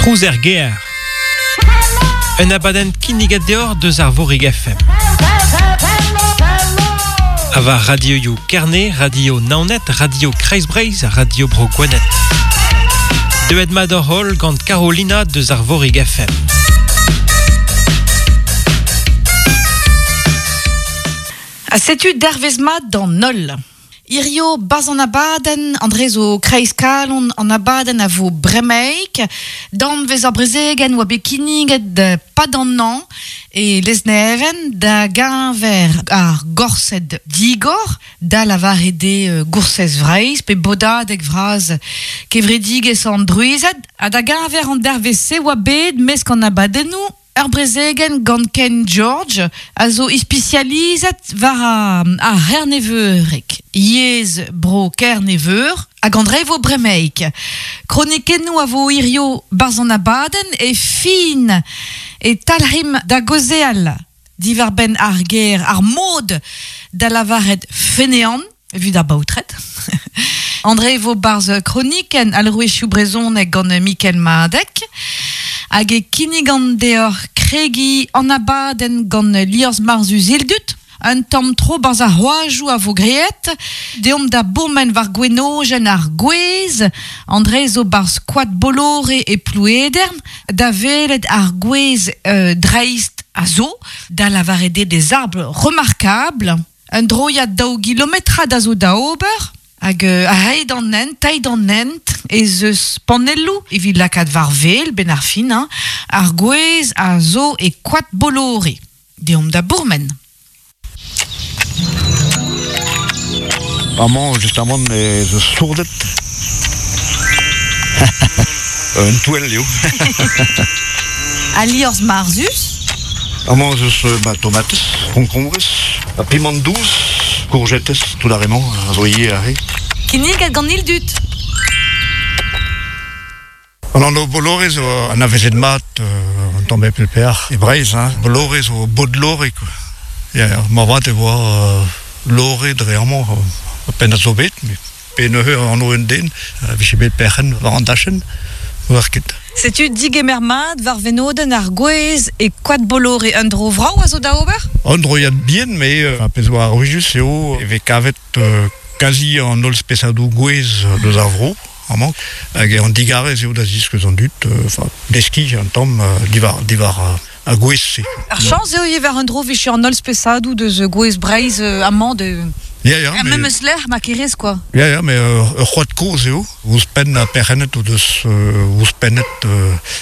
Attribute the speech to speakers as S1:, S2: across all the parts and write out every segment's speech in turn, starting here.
S1: Trouz er gêr. Un abadenn kinniget deoc'h deus Arvorig FM. Ha war radioioù Kerne, Radio Naoned, Radio Kreiz-Breizh ha Radio Bro Gwened. Deuet mat hoc'h holl gant Carolina deus Arvorig FM.
S2: Ha setu dervezh mat d'an holl. Hirio, 'barzh an abadenn, André zo kreiz kalon an abadenn a vo bremaik. Danvez ar brezegenn oa bet kinniget 'pad an hañv e Lesneven da geñver ar Gorsedd Digor, da lavaret eo Goursez Vreizh pe Bodadeg Vras Kevredigezh an Drouized. Ha da geñver an dervezh-se oa bet mesk an abadennoù Ur brezegenn gant Ken George a zo ispisializet war ar c'herneveureg, yezh bro Kerne-Veur, hag an drevo bremaik. Kronikennoù a vo hirio 'barzh an abadenn e fin e talc'himp da gaozeal diwar-benn ar ger ar mod da lavaret feneant evit ar baotred. André vo 'barzh kronikenn alrouezioù brezhonek gant Mikel Madeg. Hag e kinnigan deoc'h kregiñ an abadenn gant Liorzh Marzhus Ildut. Un tamm tro 'barzh ar c'hoajoù a vo graet. Deomp da bourmen war gwenojenn ar gwez. André zo 'barzh koad Bollore e Plouedern da welet ar gwez dreist a zo, da lavaret eo des arbres remarquables. Un droiad daou gilometrad a zo da ober hag a-hed an hent, teid an hent ez eus panelloù evit lakaat war wel 'benn ar fin hañ, ar gwez a zo e koad Bollore. Deomp da bourmen.
S3: Amañ justamant ez eus sourded. Un touell eo.
S2: Al liorzh marzhus.
S3: Amañ ez eus ba, tomatez, konkombrez, ha pimant dous, kourjetez, tout ar re-mañ a zo ivez aze.
S2: Kinniget gant Ildut.
S3: An anv Bollore zo anavezet mat un tamm hep peoc'h e Breizh. Hein. Bollore zo Bodlore quoi. Ya, moarvat e oa Lore dre amañ pennad zo bet, met pe neuze anv un den a vije bet perc'henn war an dachenn, oar ket.
S2: Setu digemer mat war wenodenn ar gwez e Koad Bollore. Un dro vrav a zo da ober?
S3: Un droiad bihan, met ar pezh oa arouezus eo e vez kavet kazi an holl spesadoù gwez deus ar vro amañ. Hag an digarez eo da ziskouez an dud, enfin, deskiñ un tamm diwar, diwar ar gwez-se.
S2: Ar chañs eo ivez war un dro 'vije an holl spesadoù deus gwez Breizh amañ de...
S3: Ya, ya,
S2: Er memes lec'h ma kerez quoi.
S3: Ya, ya, mais ur c'hoad kozh eo. Ouzhpenn ha perc'hennet o deus ouzhpennet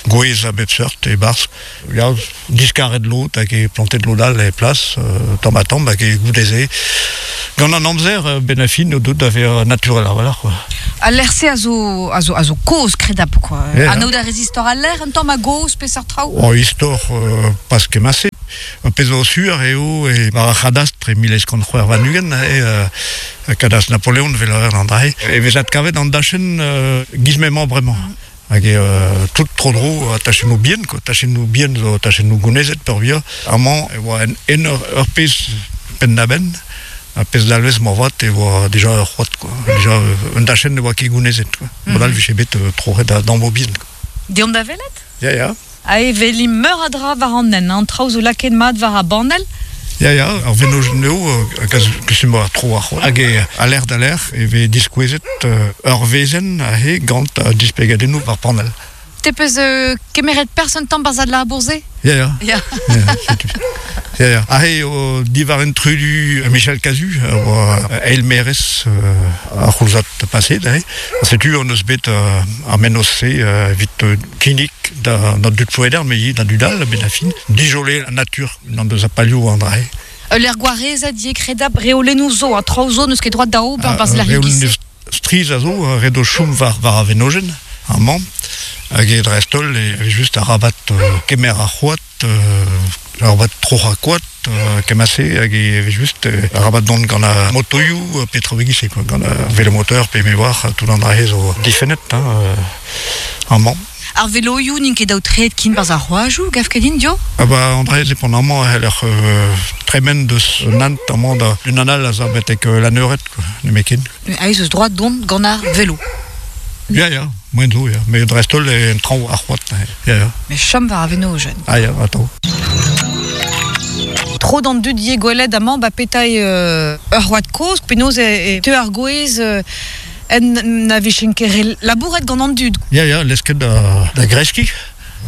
S3: gwez a bep seurt e-barzh. Ya, diskaret lod hag e plantet lod all e plas, tamm-ha-tamm, hag e goude-se. Gant an amzer, benn ar fin, o deut da vezañ naturel a-walc'h, quoi.
S2: Al lec'h-se a zo, a zo, a zo kozh, kredabl, quoi. Yeah. Anaout a rez istor al lec'h, un tamm a-gozh, peseurt traoù?
S3: Oh, istor, pas kement-se. Ar pezh zo sur eo e war ar c'hadastr e 1826, e kadastr Napoleon, evel a an dra-se, e vez adkavet an dachenn giz m'emañ bremañ. Hag eo tout tro-dro tachennoù bihan, quoi. Tachennoù bihan zo tachennoù gounezet peurvuiañ. Amañ e oa en ur pezh penn-da-benn. Ar pezh dalvez moarvat e oa deja ur c'hoad, quoi. Deja un dachenn ne oa ket gounezet, quoi. Mod all 'vije bet troc'het a-dammoù bihan.
S2: Deomp da welet?
S3: Ya, ya.
S2: Ha e welimp meur a dra war an hent, an traoù zo lakaet mat war ar banell.
S3: Ya, ya, ar vennozhioù eo kustum war tro ar c'hoad. Hag a lec'h da lec'h e vez diskouezet ur wezenn aze gant displegadennoù war panell.
S2: Te peus kemeret perzh un tamm barzh al labour-se?
S3: Ya, ya. Ya. setu. Ya, ya. Aze eo diwar intrudu Michel Cazu, a oa eil-maerez ar c'houlzad paset. Aze. Setu hon eus bet ar mennozh-se evit kinnig da, da dud Ploueder, met ivez da dud all, a-benn ar fin, dijoler an natur unan deus ar palioù an dra-se.
S2: Ul lec'h gwarezet ivez kredabl, reolennoù zo, ha traoù zo n'eus ket droad da ober barzh lec'hioù
S3: giz-se. Strizh a zo, ret o chom war, war ar wenojenn, amañ, hag e dreist-holl e just arabat kemer ar c'hoad, arabat troc'hañ koad, kement-se, hag e vez just arabat dont gant ar motoioù pe traoù e-giz-se, quoi, gant ar velomoteur pe me oar, tout an dra-se zo difennet hein, amañ.
S2: Ar veloioù n'int ket aotreet ken 'barzh ar c'hoajoù, gav ket din, dio?
S3: Ah ba, an dra-se pont amañ e c'heller tremen deus un hent amañ da unan all a za betek Lanneured, quoi, nemetken.
S2: Aes eus droad dont gant ar velo.
S3: Ya, ya, moen zo, ya. Met dreist-holl en traoñ ar c'hoad. Ya, ya.
S2: Met chom war ar venojenn.
S3: Ah ya, atav.
S2: Tro d'an dud ivez gwelet amañ ba petra eo ur c'hoad kozh, penaos e teu ar gwez en na vijent ket re labouret gant an dud.
S3: Ya, ya, lesket da, da greskiñ,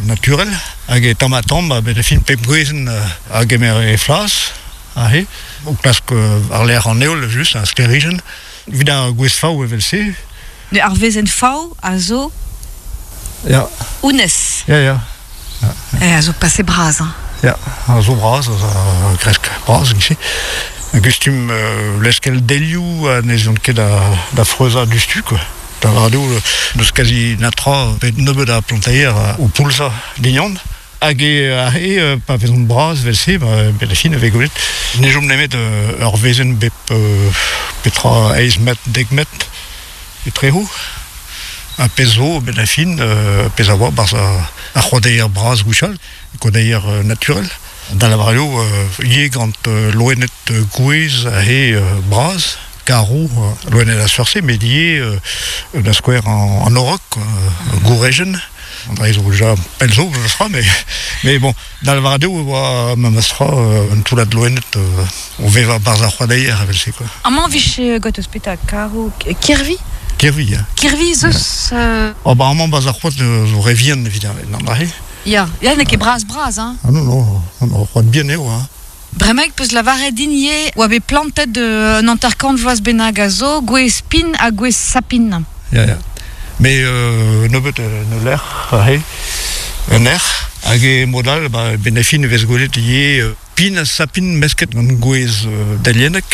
S3: naturel. Hag e tamm-ha-tamm, a-benn ar fin pep gwezenn a gemer he flas, aze, o klask war-lerc'h an heol, just, ar sklêrijenn. Evit ar gwez fav evel-se.
S2: Ar wezenn fav a zo
S3: Ya.
S2: Honnezh.
S3: Ya, ya.
S2: Eh, a zo pase bras, hein.
S3: Ya, a zo bras, a kresk bras, gise. Gustum leskel delioù ha ne zont ket da freuzañ diouzhtu, quoi. Da lavaret eo, n'eus kazi netra, bet nebeut a planteier o poulzañ dignon. Hag e aze, pa vezont bras evel-se, ba, benn ar fin e vez gwelet ne chom nemet ur wezenn bep petra eizh metr, dek metr etrezo. Ha pezh zo, benn ar fin, pezh a oa 'barzh ar c'hoadeier bras gwechall, koadeier naturel. Da lavaret eo ivez gant loened gouez aze bras, karv, loened a seurt-se, met ivez da skouer an orok, gourejenn. An dra zo déjà pell zo memestra, mais, mais bon, da lavaret eo e oa memestra un toullad loened o vevañ 'barzh ar c'hoadeier evel-se quoi.
S2: Amañ 'vije gant ouzhpenn karv kirvi?
S3: Kirvi, ya.
S2: Kirvi 'z eus
S3: Oh bah amañ 'barzh ar c'hoad zo re vihan evit an dra-se.
S2: Ya, ya n'eo ket bras-bras hein.
S3: Ah non, non, non, ur c'hoad bihan eo hein.
S2: Bremaik 'peus lavaret din ivez oa bet plantet un 50 vloaz bennak a zo gwez pin ha gwez sapin.
S3: Ya, ya. Mais nebeut en ul lec'h aze, un erc'h, hag e mod all, ba, benn ar fin e vez gwelet ivez pin ha sapin mesket gant gwez deliennek.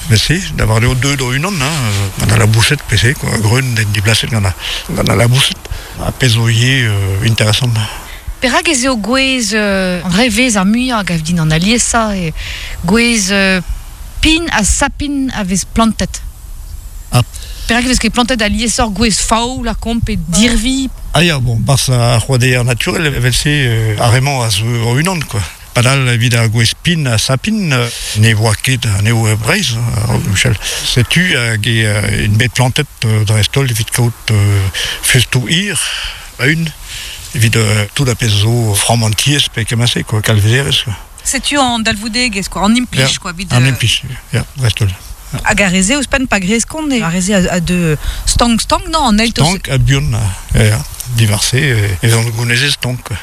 S3: Evel-se, da lavaret eo deuet o-unan, hein, gant al laboused pe-se, quoi, greun diblaset gant al laboused. Ha pezh zo ivez interesant.
S2: Perak ez eo gwez an re vez ar muiañ a gav din an aliesañ eo gwez pin ha sapin a vez plantet.
S3: Ah.
S2: Perak e vez ket plantet aliesoc'h gwez fav lakaomp pe dirvi?
S3: Ah ya, bon, 'barzh ar c'hoadeier naturel evel-se ar re-mañ a zo o-unan quoi. Padal evit ar gwez pin ha sapin ne voa ket anezho e Breizh, Michel. Setu hag int bet plantet dreist-holl evit kaout festoù hir a-un. Evit tout ar pezh zo framm an tiez pe kement-se quoi, kalvezerezh quoi.
S2: Setu an dalvoudegezh quoi, an implij quoi. Evit,
S3: an implij, ya, dreist-holl.
S2: Hag ar re-se ouzhpenn pa greskont, ar re-se a deu stank-stank, non? An eil
S3: Stank ha buan, ya, ya. Diwar-se e vezont gounezet stank quoi.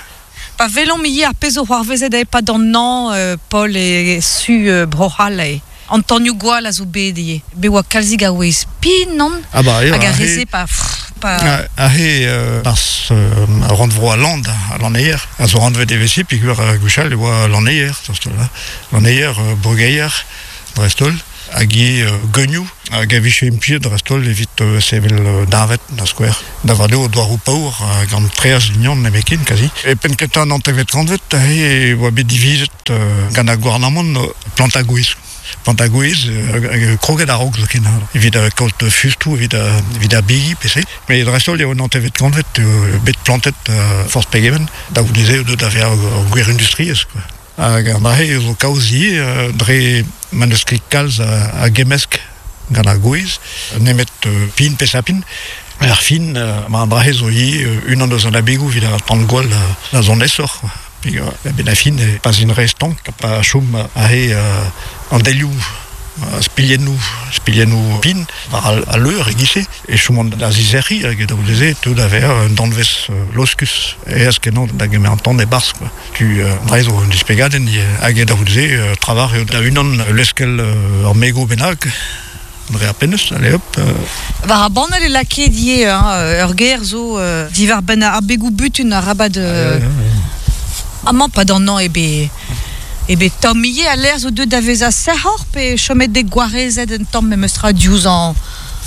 S2: Pa welomp ivez ar pezh zo c'hoarvezet e-pad an hañv, Paul, e su Bro-C'hall eo. An tanioù-gwall a zo bet ivez. Bet oa kalzik a wezh pin, non?
S3: Ah bah,
S2: Hag ar re-se pa... pa...
S3: Aze, barzh rannvro al Land, al lanneier, a zo anvet evel-se peogwir gwechall e oa lanneier, lanneier, brugeier, dreist-holl, hag ivez geunioù hag a vije implijet dreist-holl evit sevel deñved, da skouer. Da vat eo douaroù paour gant traezh lignon nemetken kazi. E penn-kentañ an hantervet kantved e oa bet divizet gant ar gouarnamant plantañ gwez. Plantañ gwez kroget a-raok zoken evit kaout fustoù evit evit ar bigi pe se. Met dreist-holl eo an hantervet kantved bet plantet forzh pegement da goude-se eo deuet da vezañ ur gwir industriezh quoi. Hag an dra-se zo kaoz ivez dre ma n'eus ket kalz a gemmesk gant ar gwez, nemet pin pe sapin. Er fin, ma an dra-se zo ivez unan eus an abegoù evit ar tan-gwall da zont aesoc'h. A-benn ar fin, pa 'z int re stank, pa chom aze an delioù spilhennoù, spilhennoù pin war al leur e-giz-se, e chomont da zizec'hiñ hag da goude-se e teu da vezañ un danvez loskus aes-kenañ da gemer an tan e-barzh quoi. Tu dre zo un displegadenn hag da c'houde-se trawalc'h eo da unan leskel ur mego bennak dre ar pennez, allez hop.
S2: War ar banell e lakaet ivez hein, ur ger zo diwar-benn ar begoù-butun arabat amañ pa d'an hañv eo bet eo bet tomm ivez al lec'h zo deuet da vezañ sec'hoc'h pe chomet bet gwarezet un tamm memestra diouzh an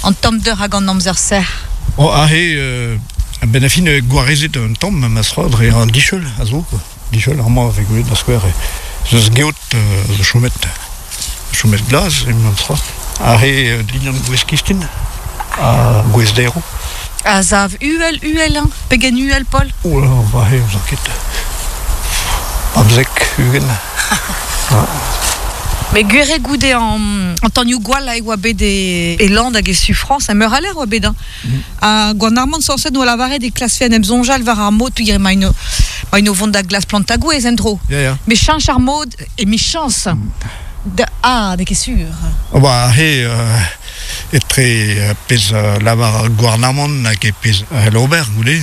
S2: an tommder hag an amzer sec'h.
S3: Oh, aze, a-benn ar fin, gwarezet un tamm memestra dre an dicheul a zo, quoi. Dicheul, amañ a vez gwelet da skouer, ez eus geot zo chomet, chomet glas, memestra. Aze, dindan gwez kistin ha gwez derv.
S2: A sav uhel, uhel, hein? Pegen uhel, Paul?
S3: Oh là, aze, n'ouzon ket. 15, 20.
S2: Me gwere goude an tanioù gwall a oa bet e land hag e su Frañs, ha meur a lec'h oa bet, hein. Ha gouarnamant sañset 'noa lavaret e klasfe en em soñjal war ar mod peogwir emaint o emaint o vont da glask plantañ gwez en-dro.
S3: Ya, ya.
S2: Met cheñch ar mod emichañs da ah, n'eo ket sur.
S3: Ba aze etre pezh a lavar ar gouarnamant hag e pezh a c'hell ober goude,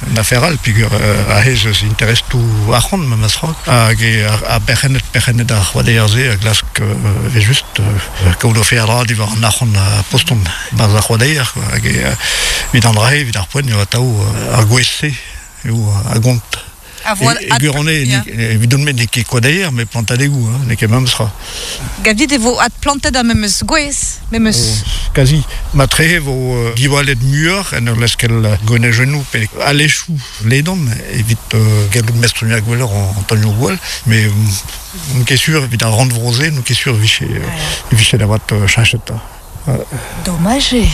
S3: un afer all peogwir aze ez eus interestoù arc'hant memes tra hag ar perc'henned perc'henned ar c'hoadeier-se a glask evel-just kaout o feadra diwar an arc'hant a postont 'barzh ar c'hoadeier hag evit an dra-se evit ar poent eo atav ar gwez-se eo a gont. E gwirionez, evidon-me n'eo ket koadeier, met plantadegoù, hein, n'eo ket memes tra.
S2: Gavit e vo adplantet ar memes gwez, memes...
S3: Oh, kazi. Matrehe e vo diwallet muioc'h en ur leskel gwenajennoù pe alechoù ledan evit gallout mestroniañ gwelloc'h an taolioù gwall, met n'on ket sur evit ar rannvro-se, n'on ket sur e vije, e vije da vat cheñchet.
S2: Domaj eo.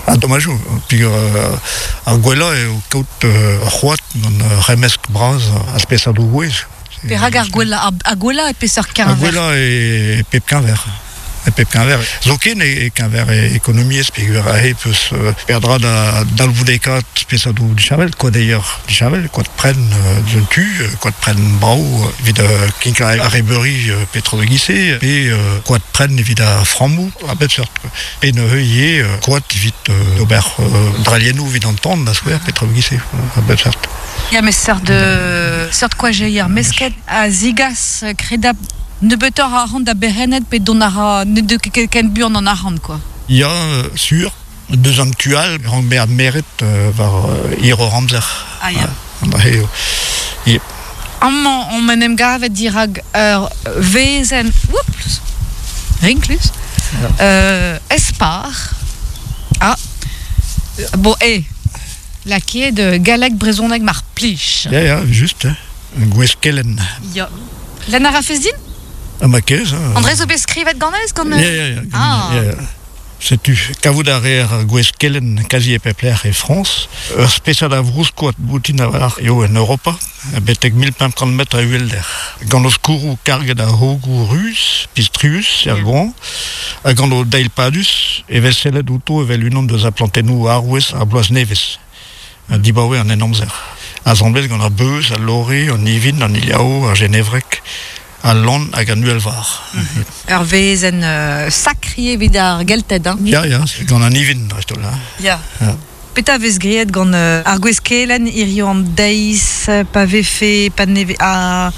S3: Ah, domaj eo, peogwir ar gwellañ eo kaout ur c'hoad gant ur c'hemmesk bras a spesadoù gouez.
S2: Perak ar gwellañ, ar gwellañ e peseurt keñver?
S3: Ar gwellañ e pep keñver. E pep keñver. Zoken e keñver ekonomiezh, peogwir aze peus peadra da dalvoudekaat spesadoù disheñvel, koadeier disheñvel, koad prenn deus un tu, koad prenn brav evit kinklañ arrebeuri petra da giz-se, pe koad prenn evit ar frammoù. A bep seurt. Pe neuze ivez koad evit ober drailhennoù evit an tan, da skouer, petra e-giz-se, a bep seurt.
S2: Ya, met seurt, seurt koajeier mesket a zigas kredabl nebeutoc'h a arc'hant da berc'henned pe dont a ra ne deu ket ken buan an arc'hant, quoi.
S3: Ya, sur. Deus an tu all, rank bezañ meret war hiroc'h amzer.
S2: Ah ya.
S3: An dra-se eo.
S2: Amañ omp en em gavet dirak ur wezenn oups, rinklus, espar. Ah, bon, eh, lakaet galleg brezhoneg mar plij.
S3: Ya, ya, just, gwez kelenn.
S2: Ya. Lenn a rafes din?
S3: Ah, ma kez. Hein.
S2: André zo bet skrivet ganez gant...
S3: Ya, ya, ya. Ah. Ya, ya. Setu, kavout a reer ar gwez kelenn kazi e pep lec'h e Frañs. Ur spesad a vrouskoad boutin a-walc'h eo en Europa, betek 1500 metr a uhelder. Gant o skourroù karget a hogoù ruz, pistrius er goañv, ha gant o deil padus e vez sellet outo evel unan deus ar plantennoù arouez ar bloaz nevez, dibaoe an Henamzer. Asambles gant ar beuz, al lore, an ivin, an iliav, ar jenevreg, Al lann hag an uhelvar.
S2: Ur wezenn sakr ivez evit ar Gelted, hein?
S3: Ya, ya, gant an ivin dreist-holl. Hein.
S2: Ya. Ya. Petra vez graet gant ar gwez-kelenn hiziv an deiz pa vefe pa ne ar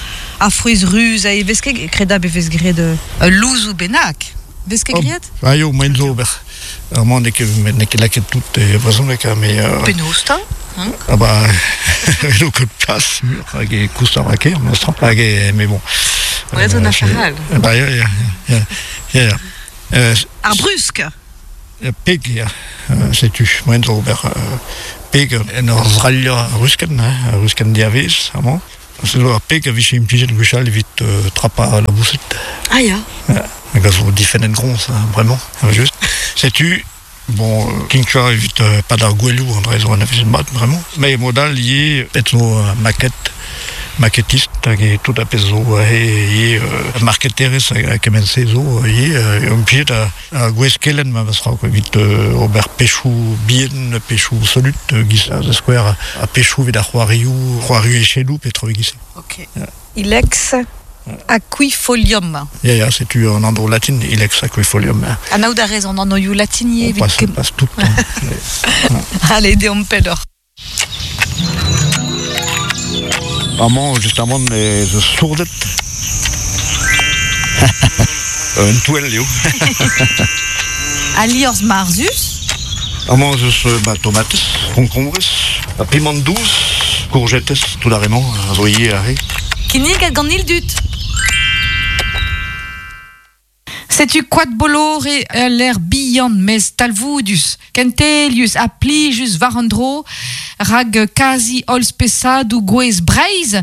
S2: frouezh ruz a vez ket kredabl e vez graet ul louzoù bennak. Vez ket graet?
S3: Ah eo, moaien zo ober. Amañ n'eo ket n'eo ket lakaet tout e brezhoneg, mais
S2: Penaos 'ta? Hein?
S3: Ah bah eo ket plas mur hag e koust ar ker memestra hag e mais bon.
S2: Ouais, zo un affaire all.
S3: Bah ya ya ya ya ya.
S2: Ar brusk.
S3: Peg ya, setu moaien zo ober peg en ur zrailhañ ruskenn, hein, ruskenn diavez amañ. Se zo ur peg a vije implijet gwechall evit trapañ al laboused.
S2: Ah ya.
S3: Hag a zo difennet groñs bremañ, just. Setu, bon, kinklañ evit pad ar gouelioù, an dra zo anavezet mat bremañ. Met mod all ivez, pet zo maquette, maquettiste hag e tout ar pezh zo aze ivez marketerezh ha kement-se zo ivez implijet Ar gwez kelenn memes tra evit ober pechoù bihan, pechoù solut, giz da skouer, ha pechoù evit ar c'hoarioù, c'hoarioù echedoù pe traoù e-giz-se.
S2: Ok. Ilex aquifolium.
S3: Ya, ya, setu an anv latin, Ilex aquifolium.
S2: Anaout a rez an anvioù latin ivez?
S3: On passe, passe tout le temps.
S2: Allez, deomp pelloc'h.
S3: Amañ, justamant, ez eus sourded. Un touell eo.
S2: Al liorzh marzhus.
S3: Amañ ez eus ba, tomatez, konkombrez, ha piment dous, kourjetez, tout ar re-mañ a zo ivez aze.
S2: Kinniget gant Ildut. Setu Koad Bollore ul lec'h bihan mes talvoudus, kentelius ha plijus war an dro, rak kazi holl spesadoù gwez Breizh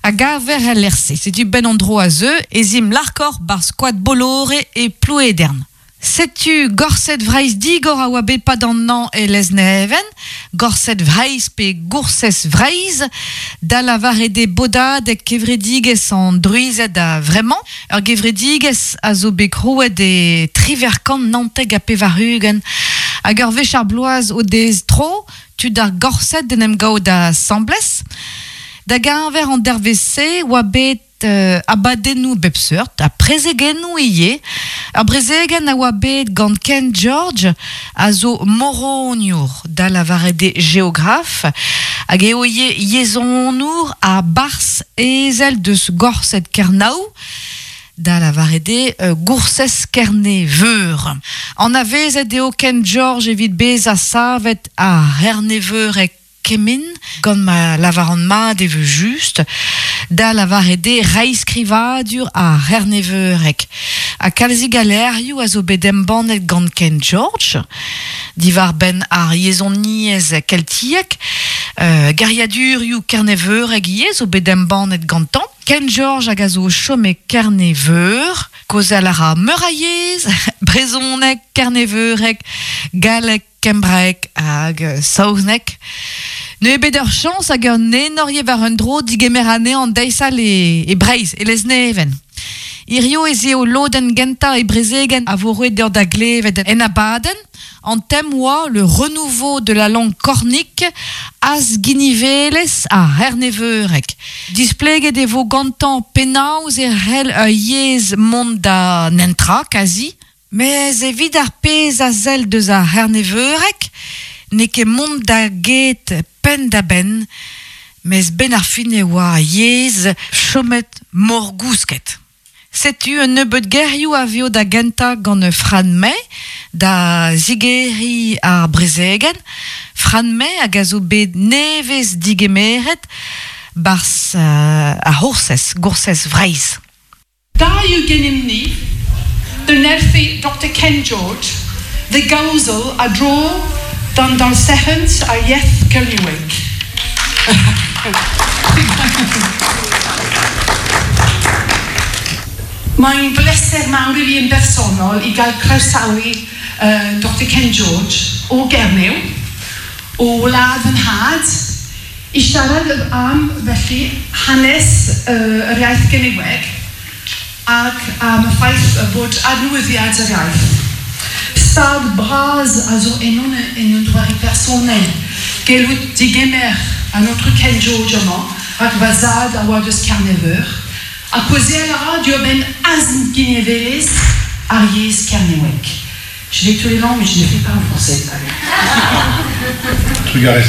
S2: a gaver el lec'h-se. Setu benn an dro a zeu ez imp larkoc'h 'barzh Koad Bollore e Plouedern. Setu Gorsedd Vreizh digor a oa bet 'pad an hañv e Lesneven, Gorsedd Vreizh pe Goursez Vreizh, da lavaret eo bodadeg kevredigezh an Druized a-vremañ, ur gevredigezh a zo bet krouet e 1999 hag ur wech ar bloaz o dez tro tud ar Gorsedd d'en em gaout asambles. Da geñver an dervezh-se oa bet abadennoù bep seurt ha prezegennoù ivez. Ur brezegenn a oa bet gant Ken George a zo moroniour, da lavaret eo geograf, hag eo ivez yezhonour ha barzh ezel deus Gorsedd Kernow, da lavaret eo Goursez Kerne-Veur. Anavezet eo Ken George evit bezañ savet ar C'herneveureg Kement, gant ma lavaran mat e vez just, da lavaret eo reizhskrivadur ar c'herneveureg. Ha kalzik a levrioù a zo bet embannet gant Ken George diwar-benn ar yezhoniezh keltiek. Geriadurioù kerneveureg ivez zo bet embannet gantañ. Ken George hag a zo o chom e Kerne-Veur. Kaozeal a ra meur a yezh, brezhoneg, kerneveureg, galleg, kembraeg hag saozneg. Neuze bet ur chañs hag un enor ivez war un dro digemer anezhañ an deiz all e Breizh, e Lesneven. Hirio ez eo lodenn gentañ e brezegenn a vo roet deoc'h da glevet en abadenn. An tem oa Le renouveau de la langue cornique, azginivelezh ar c'herneveureg. Displeget e vo gantañ penaos e c'hell ur yezh mont da nentra, kazi. Mes evit ar pezh a sell deus ar c'herneveureg, n'eo ket mont da get penn-da-benn, mes 'benn ar fin e oa ar yezh chomet morgousket. Setu un nebeud gerioù a vezo da gentañ gant Fran May da zigeriñ ar brezegenn. Fran May hag a zo bet nevez digemeret 'barzh ar C'hoursez, Goursez Vreizh.
S4: Da yw gennym ni, dy nerthu Doctor Ken George, dy gawsel a dro dan dalsechent ar ieth Cernyweg. Mae'n bleser mawr i fi yn bersonol i gael croesawu Doctor Ken George o Gernyw, o wlad fy nhad, I siarad am, felly, hanes yr iaith Gernyweg ac am y ffaith bod adnewyddiad yr iaith. Stad bras a zo ennon en un doare personel gellout digemer an Aotrou Ken George amañ, rak va zad a oa deus Kernev-Veur, ha kaozeal a ra diwar-benn azginevelezh ar yezh kernewek. Je vais tous les langues, mais je ne fais pas en français.
S5: Trugarez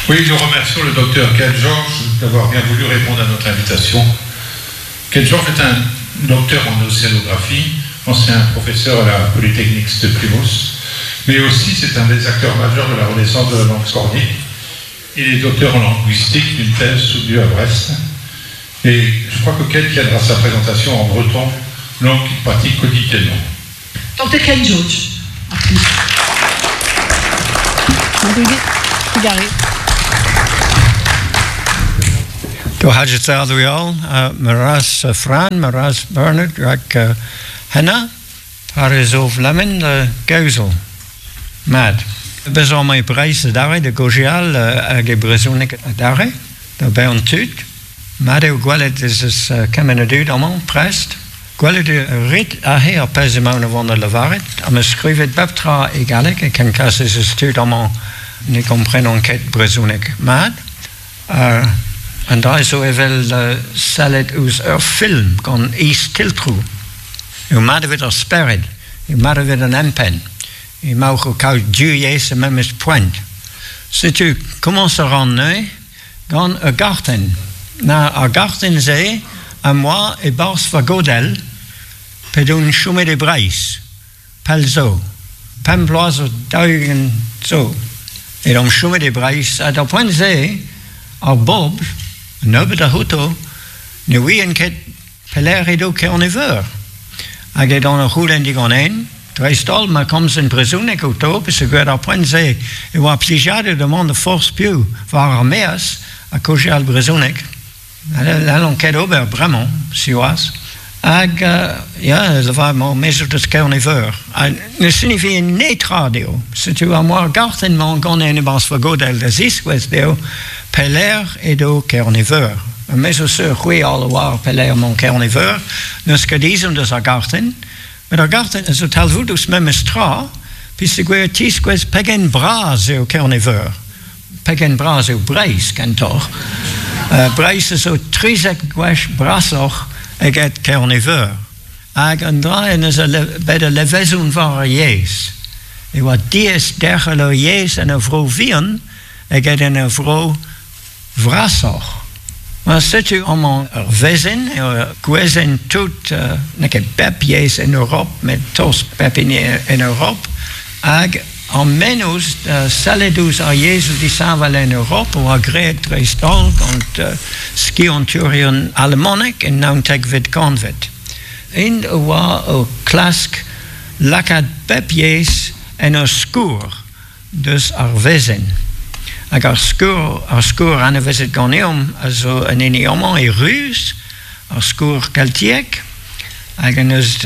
S5: Oui, nous remercions le docteur Ken George d'avoir bien voulu répondre à notre invitation. Ken George est un docteur en océanographie, ancien professeur à la Polytechnique de Plymouth, mais aussi c'est un des acteurs majeurs de la renaissance de la langue cornique. Il est docteur en linguistique d'une thèse soutenue à Brest. Et je crois que Ken tiendra sa présentation en breton, langue qu'il pratique quotidiennement.
S4: Docteur Ken George.
S6: Do Maras Fran, Maras Bernard, rak Henna, Paris of Lemon, Gausel. Mad. Bezañ emañ e Breizh adarre da gaozeal hag e brezhoneg adarre, da baeañ tud. Mat eo gwelet ez eus kement a dud amañ, prest. Gwelet eo ret aze ar pezh emaon o vont da lavaret, ha 'm eus skrivet pep tra e galleg e ken kas ez eus tud amañ ne gomprenont ket brezhoneg mat. An dra zo evel sellet ouzh ur film gant istiltroù. Eo mat evit ar spered, eo mat evit an empenn. Emaoc'h o kaout div yezh er memes poent. Setu komañs a ran neuze gant ur gartenn. Na ar gartenn-se am boa e-barzh va godell p'edon chomet e Breizh. Pell zo, pemp bloaz zo 40 zo, edon chomet e Breizh ha d'ar poent-se ar bobl, nebeut a c'houto, ne ouient ket pelec'h edo Kerne-Veur. Hag edon o c'houlenn diganen, dreist-holl ma komzen brezhoneg outo, peogwir d'ar poent-se e oa plijadur da mont da forzh piv war ar maez ha kaozeal brezhoneg. N'hallont ket ober bremañ, siwazh. Hag, ya, lavar mañ me zo deus Kerne-Veur. Ha ne signifie netra dezho. Setu ar moar gartenn-mañ ganen e-barzh va godell da ziskouez dezho pelec'h edo Kerne-Veur. Me zo sur c'hwi all a oar pelec'h emañ Kerne-Veur. N'eus ket ezhomm deus ar gartenn. Met ar gartenn a zo talvoudus memes tra, peogwir e tiskouez pegen bras eo Kerne-Veur. Pegen bras eo Breizh kentoc'h. Breizh a zo 13 gwech brasoc'h eget Kerne-Veur. Hag an dra en deus bet ul levezon war ar yezh. E oa diaes derc'hel ur yezh en ur vro vihan eget en ur vro vrasoc'h. Ma setu amañ ur wezenn, ur gwezenn tout, n'eo ket bep yezh en Europ, met tost pep hini en Europ, hag ar mennozh da sellet ouzh ar yezhoù disheñvel en Europ a oa graet dreist-holl gant skiantourien alamanek en naontekvet kantved. Int a oa o klask lakaat pep yezh en ur skourr. deus ar wezenn. Hag ar skourr, ar skourr anavezet ganeomp a zo an hini amañ e ruz, ar skourr keltiek, hag en deus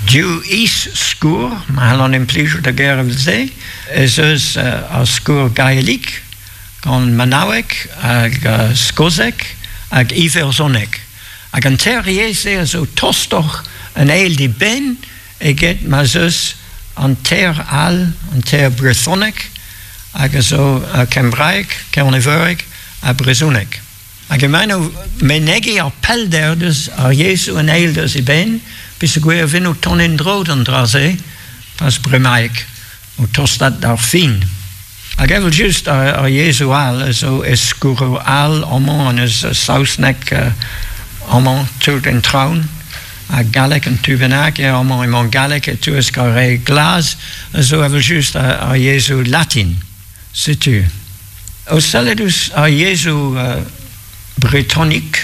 S6: div is-skourr, ma c'hallan implijout ar ger evel-se, ez eus ar skourr gaelik gant manaoueg hag skoseg hag iwerzhoneg. Hag an teir yezh-se a zo tostoc'h an eil d'eben eget ma'z eus an teir all, an teir brezhoneg, hag a zo kembraeg, kerneveureg ha brezhoneg. Hag emaint o menegiñ ar pellder deus ar yezhoù an eil deus eben, peogwir e vent o tont en-dro d'an dra-se, pas bremaik, o tostaat d'ar fin. Hag evel-just ar yezhoù all a zo e skourroù all amañ an eus saozneg amañ tout en traoñ ha galleg un tu bennak eo amañ emañ galleg e-touesk ar re glas a zo evel-just ar yezhoù latin. Setu. O sellet ouzh ar yezhoù bretonik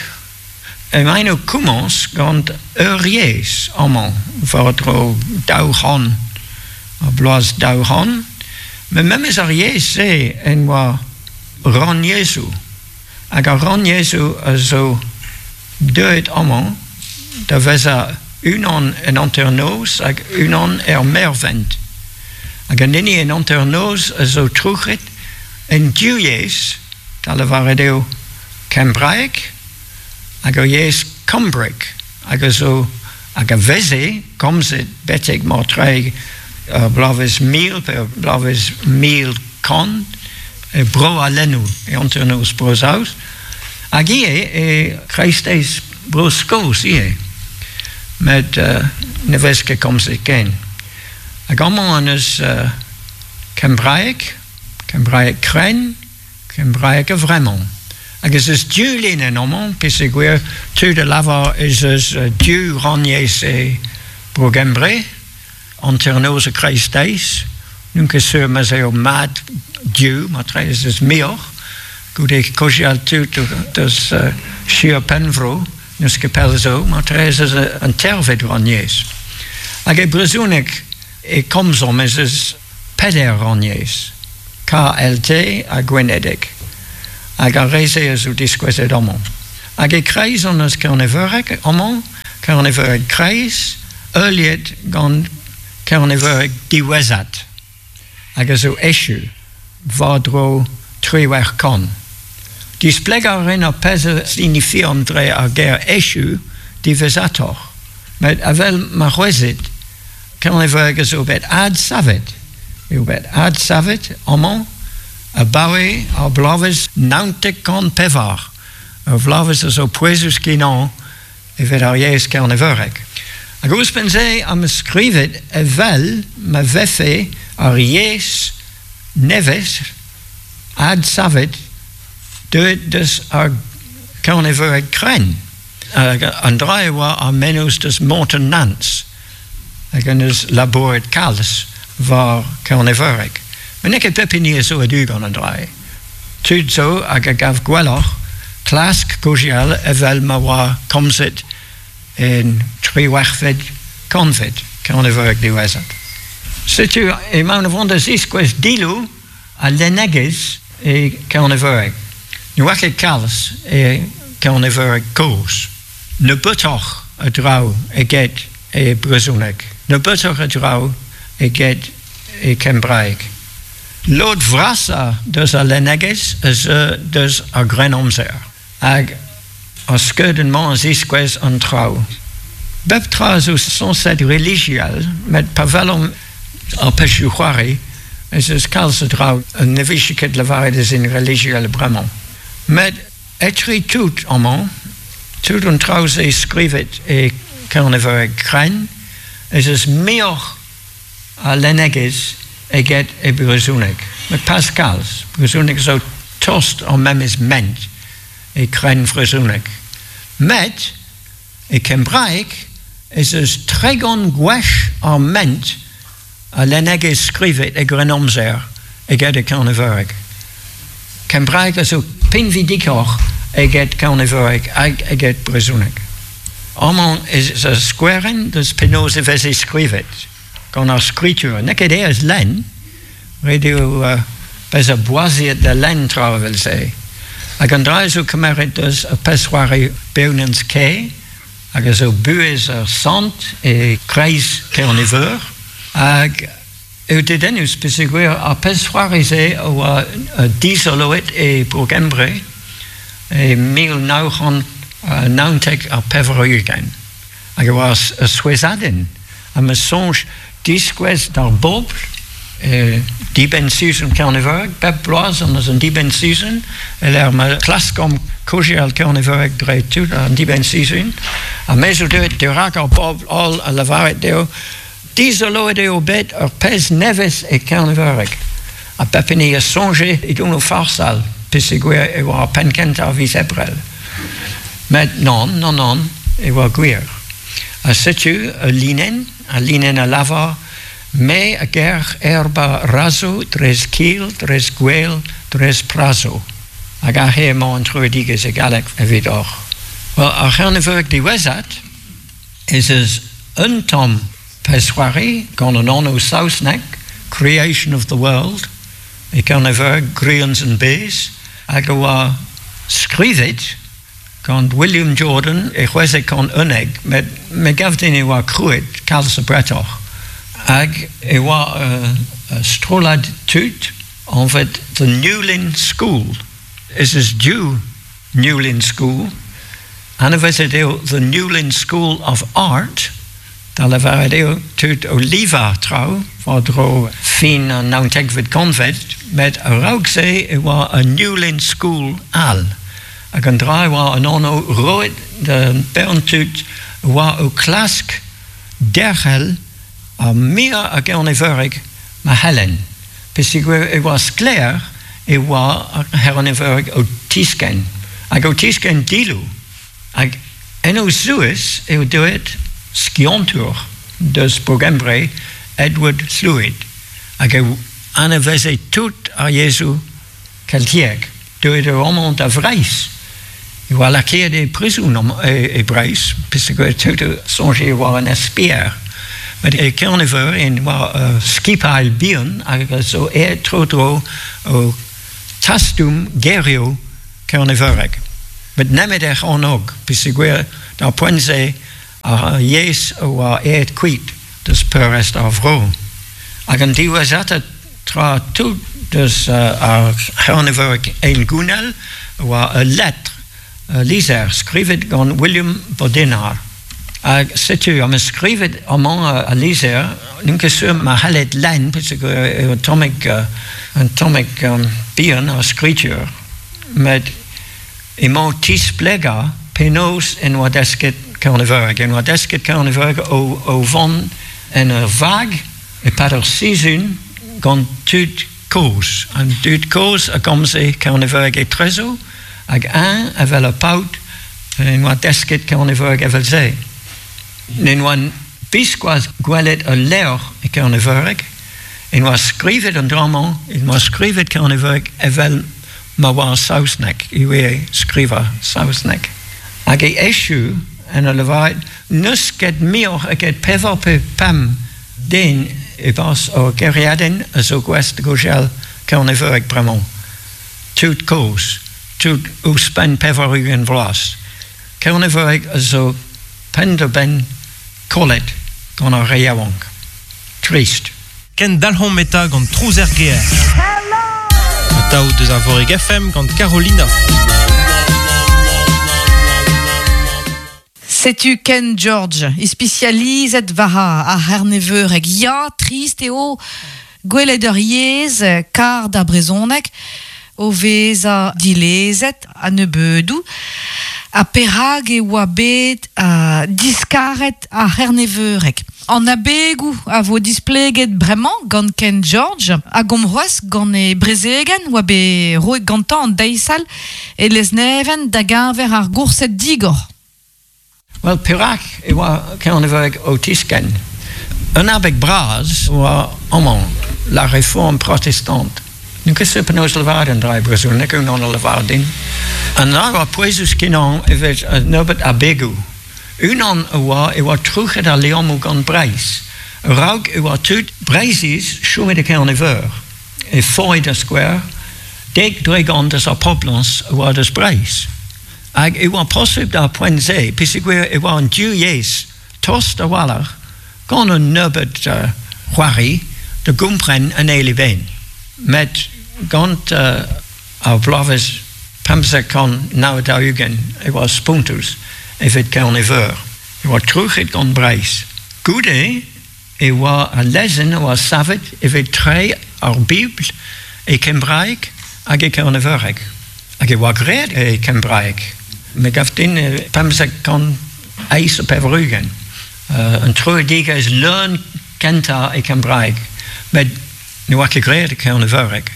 S6: emaint o komañs gant ur yezh amañ war-dro 200 ar bloaz 200 met memes ar yezh-se en oa rannyezhoù hag ar rannyezhoù a zo deuet amañ da vezañ unan en hanternoz hag unan er mervent hag an hini en hanternoz a zo trouc'het en div yezh da lavaret eo kembraeg hag ur yezh kembrek hag a zo hag a veze komzet betek mortreig ur bloavezh mil pe ur bloavezh 1100 e bro al lennoù e hanternoz Bro-Saoz hag ivez e kreisteiz Bro-Skos ivez met ne vez ket komzet ken. Hag amañ hon eus kembraeg, kembraeg krenn, Kembraeg a-vremañ. Hag ez eus div linenn amañ, peogwir tud a lavar ez eus div rannyezh e Bro-Gembre, hanternoz ha kreisteiz. N'on ket sur ma'z eo mat div, matre ez eus muioc'h. Goude kaozeal tud deus Sir Penfro, n'eus ket pell zo, matre ez eus an teirvet rannyezh. Hag e brezhoneg e komzomp ez eus Peder rannyezh, KLT ha gwenedeg, hag ar re-se a zo diskouezet amañ. Hag e-kreiz hon eus Kerneveureg amañ, Kerneveureg kreiz, heuliet gant Kerneveureg diwezhat, hag a zo echu war-dro 1800. Displegañ a rin ar pezh a sinifian dre ar ger echu diwezhatoc'h, met evel ma c'hwezit, Kerneveureg a zo bet adsavet eo bet adsavet amañ abaoe ar bloavezh 904. Ur bloavezh a zo pouezus-kenañ evit ar yezh kerneveurek. Hag ouzhpenn-se am eus skrivet evel ma vefe ar yezh nevez adsavet deuet deus ar kerneveureg krenn. Hag an dra e oa ar mennozh deus Morton Nance hag en deus labouret kalz war Kerneveureg. Met n'eo ket pep hini a zo a-du gant an dra-se. Tud zo hag a gav gwelloc'h klask kaozeal evel ma oa komzet en triwec'hvet kantved Kerneveureg diwezhat. Setu emaon o vont da ziskouez diloù al lennegezh e Kerneveureg. Ne oa ket kalz e Kerneveureg kozh. Nebeutoc'h. a draoù eget e brezhoneg. Nebeutoc'h a draoù eget e kembraeg. Lod vrasañ deus al lennegezh a zeu deus ar Grennamzer hag ar skeudenn-mañ a ziskouez an traoù. Bep tra a zo sañset relijiel met pa welomp ar pezhioù-c'hoari ez eus kalz a draoù ne vije ket lavaret ez int relijiel bremañ. Met etre tout amañ, tout an traoù-se skrivet e Kerneveureg krenn, ez eus muioc'h a lennegezh eget e brezhoneg. Met pas kalz. Brezhoneg zo tost ar memes ment e krennvrezhoneg. Met e kembraeg ez eus 30 gwech ar ment a lennegezh skrivet e Grennamzer eget e Kerneveureg. Kembraeg a zo pinvidikoc'h eget Kerneveureg hag eget brezhoneg. Amañ ez eus skouerenn deus penaos e veze skrivet gant ar skritur. N'eo ket aes lenn, ret eo bezañ boaziet da lenn traoù evel-se. Hag an dra zo kemeret deus ur pezh-c'hoari Beunans Kae, hag a zo buhez ur sant e kreiz Kerne-Veur. Hag eo dedennus peogwir ar pezh-c'hoari-se a oa dizoloet e Bro-Gembre e 1999. Hag e oa ur souezhadenn. Ha ma soñj diskouez d'ar bobl e dibenn-sizhun Kerneveureg, bep bloaz on eus un dibenn-sizhun e-lec'h ma klaskomp kaozeal Kerneveureg dre tout an dibenn-sizhun. Ha me zo deuet dirak ar bobl holl ha lavaret dezho Dizoloet eo bet ur pezh nevez e Kerneveureg ha pep hini a soñje edon o farsal peogwir e oa ar penn-kentañ a viz Ebrel. Met nann, nann, nann, e oa gwir. Ha setu ul linenn, al linenn a lavar Me a gerc'h erba razo dres kil, dres gwel, dres prazo. Hag aze emañ an troidigezh e galleg evidoc'h. Wel, ar C'herneveureg diwezhat ez eus un tamm pezh-c'hoari gant an anv saoznek Creation of the World e Kerneveureg Grians and Bees hag a oa skrivet gant William Jordan e 1611 met me gav din e oa krouet kalz abretoc'h hag e oa ur strollad tud anvet The Newlyn School. Ez eus div Newlyn School. Anavezet eo The Newlyn School of Art, da lavaret eo tud o livañ traoù war-dro fin an naontekvet kantved, met a-raok-se e oa un Newlyn School all. Hag an dra e oa an anv roet da bern tud a oa o klask derc'hel ar muiañ a Gerneveureg ma c'hellent, peogwir e oa sklaer e oa ar C'herneveureg o tiskenn, hag o tiskenn dillo. Hag en o zouez eo deuet skiantour deus Bro-Gembre, Edward Llwyd, hag e anaveze tout ar yezhoù keltiek. Deuet eo amañ da Vreizh. E oa lakaet e prizon e Breizh, peogwir tud a soñje e oa un espier. Met e Kerne-Veur en oa ur skipailh bihan hag a zo aet tro-dro o tastum gerioù kerneveurek. Met nemet er c'hornôg, peogwir d'ar poent-se ar yezh a oa aet kuit deus peurrest ar vro. Hag an diwezhatañ Tra tout deus ar C'herneveureg hengounel a oa ul letr, ul lizher skrivet gant William Bodinar. Hag setu am eus skrivet amañ al lizher, n'on ket sur ma c'hallet lenn peogwir eo un tammig un tammig bihan ar skritur, met emañ o tisplegañ penaos en oa desket Kerneveureg. En oa desket Kerneveureg o vont en ur vag E-pad ur sizhun gant tud kozh. An dud kozh a gomze kerneveureg etrezo hag eñ evel ur paotr en oa desket kerneveureg evel-se. N'en oa biskoazh gwelet ul levr e kerneveureg, en oa skrivet an dra-mañ, en oa skrivet kerneveureg evel ma oa ar saozneg, ivez skrivañ saozneg. Hag e echu en ur lavaret n'eus ket muioc'h eget pevar pe pemp den e-barzh ur gêriadenn a zo gouest da gaozeal kerneveureg bremañ. Tud kozh, tud ouzhpenn 80 vloaz. Kerneveureg a zo penn-da-benn kollet gant ar re yaouank. Trist.
S1: Ken dalc'homp eta gant Trouz er gêr. Atav deus Arvorig FM gant Carolina.
S2: Setu Ken George, ispisializet war ar C'herneveureg. Ya, trist eo gwelet ur yezh kar d'ar brezhoneg o vezañ dilezet a-nebeudoù. Ha perak e oa bet diskaret ar c'herneveureg? An abegoù a vo displeget bremañ gant Ken George hag omp c'hoazh gant e brezegenn oa bet roet gantañ an deiz all e Lesneven da geñver ar goursed digor.
S6: Wel, perak e oa Kerneveureg o tiskenn? Un abeg bras oa amañ, la réforme protestante. N'on ket sur penaos lavaret an dra e brezhoneg, unan a lavar din. An dra oa pouezus-kenañ evit un nebeud abegoù. Unan a oa e oa trouc'het al liammoù gant Breizh. A-raok e oa tud Breizhiz chomet e Kerne-Veur. E Foy da skouer, 10% eus ar poblañs a oa deus Breizh. Hag e oa posubl d'ar poent-se peogwir e oa an div yezh tost a-walc'h gant un nebeud c'hoari da gompren an eil eben. Met gant ar bloavezh 1549 e oa spontus evit Kerne-Veur. E oa trouc'het gant Breizh. Goude e oa al lezenn a oa savet evit treiñ ar Bibl e kembraeg hag e kerneveureg. Hag e oa graet e kembraeg. Me gav din 1588. Un troidigezh leun kentañ e kembraeg. Met ne oa ket graet e kerneveureg.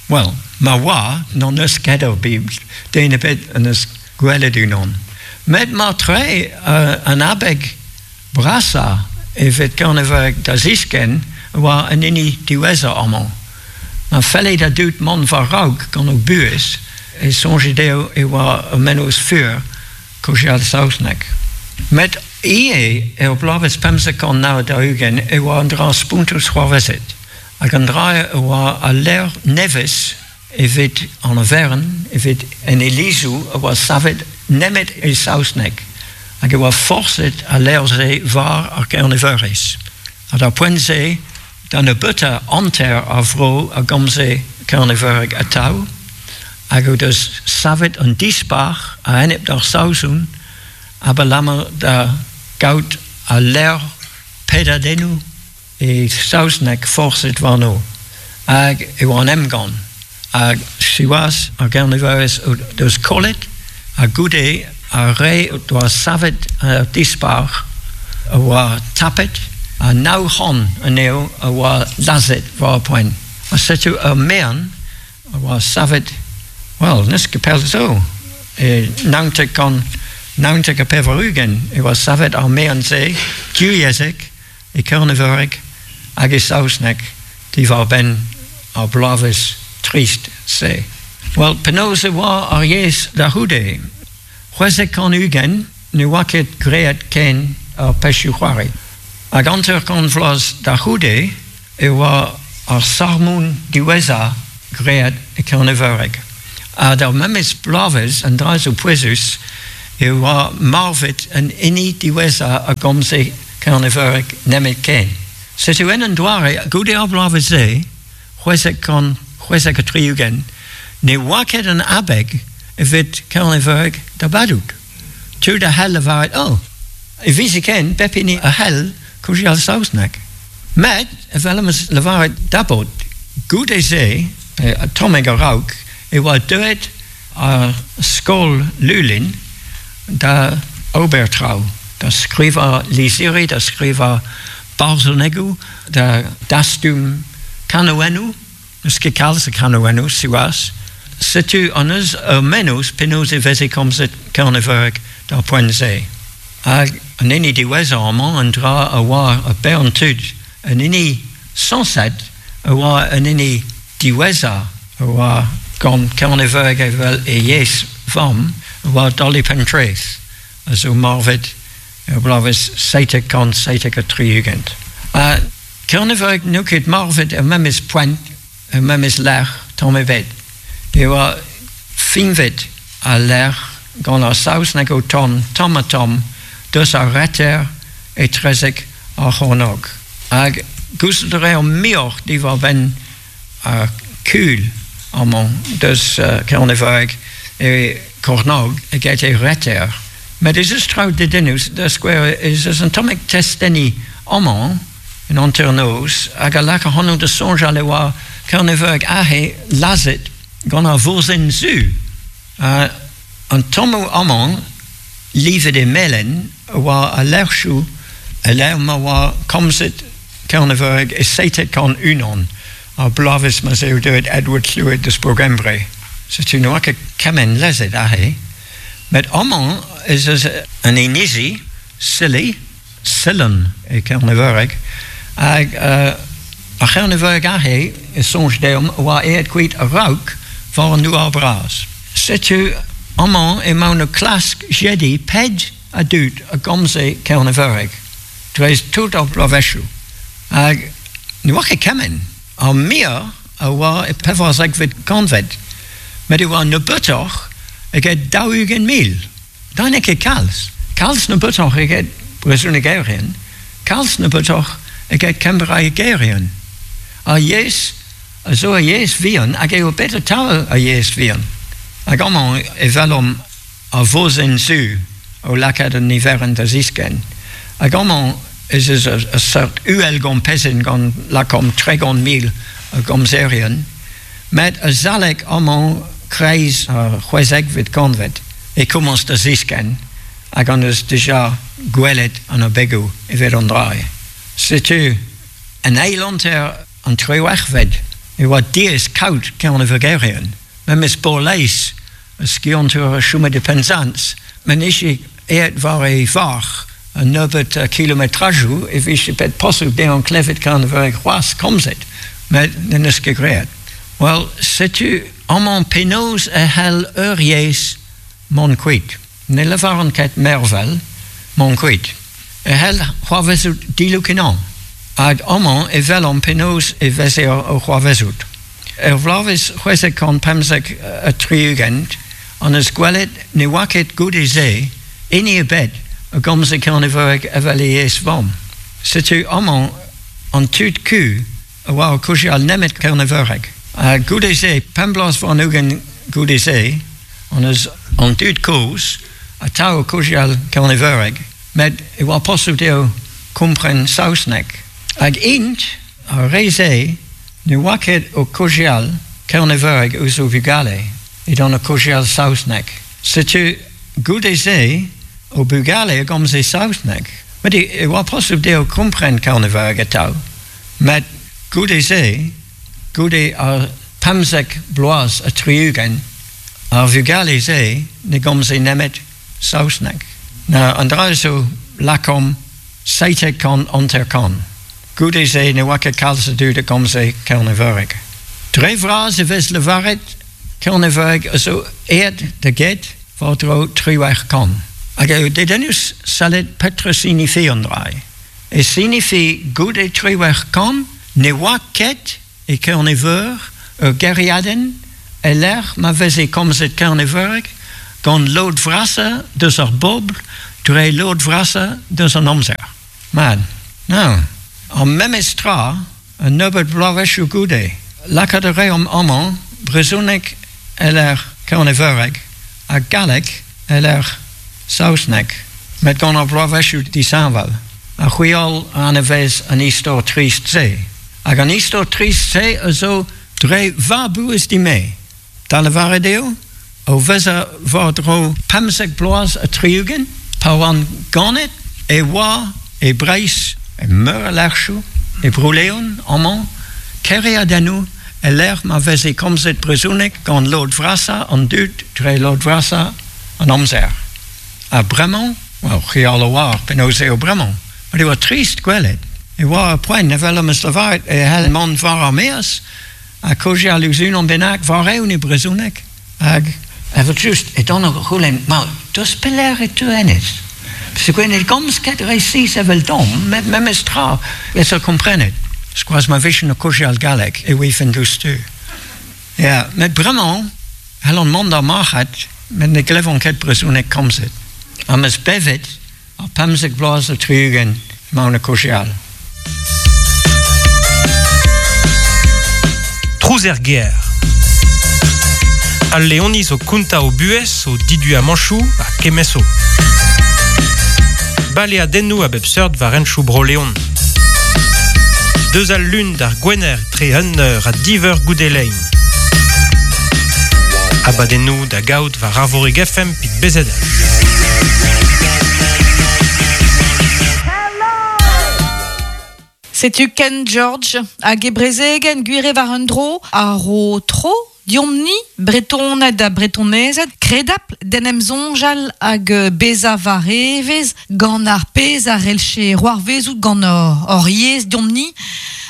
S6: Wel, ma oa, n'hon eus ket ur Bibl, den ebet en deus gwelet unan. Met mar-tre an abeg brasañ evit Kerneveureg da ziskenn a oa an hini diwezhañ amañ. Ma felle da dud mont war-raok gant o buhez e soñje dezho e oa ur mennozh fur kaozeal saozneg. Met ivez er bloavezh 1549 e oa un dra spontus c'hoarvezet. Hag an dra e oa al levr nevez evit an oferenn, evit en ilizoù a oa savet nemet e saozneg, hag e oa forset al levr-se war ar Gerneveuriz. Ha d'ar poent-se, da nebeutañ hanter ar vro a gomze kerneveureg atav, hag o deus savet un dispac'h a-enep d'ar Saozon abalamour da gaout al levr pedadennoù E saozneg forset warno hag e oa an emgann hag siwazh ar Gerneveuriz o deus kollet ha goude ar re o doa savet ar dispac'h a oa tapet ha 900 anezho a oa lazhet war ar poent. Ha setu ur mean a oa savet, well, n'eus ket pell zo, e 1999 e oa savet ar mean-se divyezhek e kerneveureg hag e saozneg diwar-benn ar bloavezh trist-se. Wel, penaos e oa ar yezh da c'houde? 1620 ne oa ket graet ken ar pezhioù-c'hoari. Hag 50 vloaz da c'houde e oa ar sarmon diwezhañ graet e kerneveureg. Ha d'ar memes bloavezh, an dra zo pouezus, e oa marvet an hini diwezhañ a gomze kerneveureg nemetken. Setu en un doare, goude ar bloavezh-se, 1676, ne oa ket an abeg evit kerneveureg da badout. Tud a c'hell lavaret, oh, e viziken pep hini a c'hell kaozeal saozneg. Met, evel am eus lavaret dabot, goude-se, pe tammig a-raok, e oa deuet ar skol Lulin da ober traoù, da skrivañ lizhiri, da skrivañ barzhonegoù, da dastum kanaouennoù. N'eus ket kalz a kanaouennoù, siwazh. Setu hon eus ur mennozh penaos e veze komzet kerneveureg d'ar poent-se. Hag an hini diwezhañ amañ, an dra a oa ur bern tud, an hini sañset a oa an hini diwezhañ a oa gant Kerneveureg evel e yezh vamm, a oa Dolly Pentreath, a zo marvet er bloavezh 1777. Ha Kerneveureg n'eo ket marvet er memes poent, er memes lec'h, tamm ebet. E oa fiñvet al lec'h gant ar saozneg o tont tamm-ha-tamm deus ar reter etrezek ar c'hornog. Hag gouzout a reomp muioc'h diwar-benn ar kul amañ deus Kerneveureg e kornog eget e reter. Met ez eus traoù dedennus, da skouer ez eus un tammig testeni amañ en hanternoz hag a lak ac'hanon da soñjal e oa Kerneveureg aze lazhet gant ar vosenn zu. An tammoù amañ livet e melen a oa al lec'hioù e-lec'h ma oa komzet Kerneveureg e 1701, ar bloavezh ma'z eo deuet Edward Lhuyd eus Bro-Gembre. Setu ne oa ket kement lezet aze. Met amañ ez eus un inizi, Scilly, Sillan e kerneveureg, hag ar c'herneveureg aze e soñj deomp a oa aet kuit a-raok war an douar-bras. Setu amañ emaon o klask jediñ pet a dud a gomze kerneveureg dre tout ar bloavezhioù. Hag ne oa ket kement. Ar muiañ a oa e pevarzekvet kantved, met e oa nebeutoc'h eget 40,000. Da n'eo ket kalz. Kalz nebeutoc'h eget brezhonegerien, kalz nebeutoc'h eget kembraegerien. Ar yezh a zo ur yezh vihan hag eo bet atav ur yezh vihan. Hag amañ e welomp ar vosenn zu o lakaat an niverenn da ziskenn. Hag amañ ez eus ur seurt uhelgompezenn gant lakaomp 30,000 a gomzerien, met azalek amañ kreiz ar c'hwezekvet kantved e komañs da ziskenn hag hon eus dija gwelet an abegoù evit an dra-se. Setu en eil hanter an triwec'hved e oa diaes kaout Kernevegerien, memes Borlais, ur skiantour a chome e Penzans, ma nije aet war e varc'h un nebeud kilometrajoù e vije bet posubl dezhañ klevet Kerneveureg c'hoazh komzet, met n'en deus ket graet. Wel, setu amañ penaos e c'hell ur yezh mont kuit. Ne lavaran ket mervel, mont kuit. E c'hell c'hoarvezout dillo-kenañ. Hag amañ e welomp penaos e veze o c'hoarvezout. Er bloavezh 1675 hon eus gwelet ne oa ket goude-se hini ebet a gomze kerneveureg evel e yezh vamm. Setu amañ an tud ku a oa o kaozeal nemet kerneveureg. Ha goude-se, pemp bloaz warn-ugent goude-se, hon eus an dud kozh atav o kaozeal kerneveureg, met e oa posubl dezho kompren saozneg. Hag int, ar re-se, ne oa ket o kaozeal kerneveureg ouzh o vugale, edont o kaozeal saozneg. Setu goude-se o bugale a gomze saozneg. Met e oa posubl dezho kompren kerneveureg atav. Met goude-se, goude ar 15 bloaz ha 60, ar vugale-se ne gomze nemet saozneg. Na, an dra zo lakaomp 750. Goude-se ne oa ket kalz a dud a gomze kerneveureg. Dre vras e vez lavaret kerneveureg a zo aet da get war-dro 1800. Hag eo dedennus sellet petra sinifi an dra. E sinifi goude 1800 ne oa ket e Kerne-Veur ur gêriadenn e-lec'h ma veze komzet kerneveureg gant lod vrasañ deus ar bobl dre lod vrasañ deus an amzer. Mat, now, ar memes tra un nebeud bloavezhioù goude. Lakaat a reomp amañ brezhoneg e-lec'h kerneveureg ha galleg e-lec'h saozneg, met gant ar bloavezhioù disheñvel. Ha c'hwi holl a anavez an istor trist-se. Hag an istor trist-se a zo dre va buhez din-me. Da lavaret eo, o vezañ war-dro 15 bloaz ha 60, pa oan ganet, e oa e Breizh, e meur a lec'hioù, e Bro-Leon, amañ, kêriadennoù e-lec'h ma veze komzet brezhoneg gant lod vrasañ an dud dre lod vrasañ an amzer. Ha bremañ, well, c'hwi all a oar penaos eo bremañ, met e oa trist gwelet. E oa ur poent, evel am eus lavaret, e c'hell mont war ar maez ha kaozeal ouzh unan bennak war-eeun e brezhoneg. Hag evel-just e dan o c'houlenn, ma, deus pelec'h e teu hennezh? Peogwir ne gomz ket resis eveldomp, met memes tra ez eo komprenet. Skoaz ma vijen o kaozeal galleg e ouifen diouzhtu. Ya, met bremañ c'hellan mont d'ar marc'had met ne glevan ket brezhoneg komzet. Am eus bevet. Ar 15 bloaz ha 60 emaon o kaozeal.
S1: Trouz er gêr. Al Leoniz o kontañ o buhez, o diduamanchoù ha kemmeso. Baleadennoù a bep seurt war henchoù Bro-Leon. Deus al lun d'ar gwener tre un eur ha div eur goude lein. Abadennoù da gaout war Arvorig FM pit BZH.
S2: Setu Ken George hag e brezegenn gwir war un dro a ro tro deomp-ni, Bretoned ha Bretonezed, kredapl d'en em soñjal hag bezañ war evezh gant ar pezh a c'hellche c'hoarvezout gant hor yezh deomp-ni,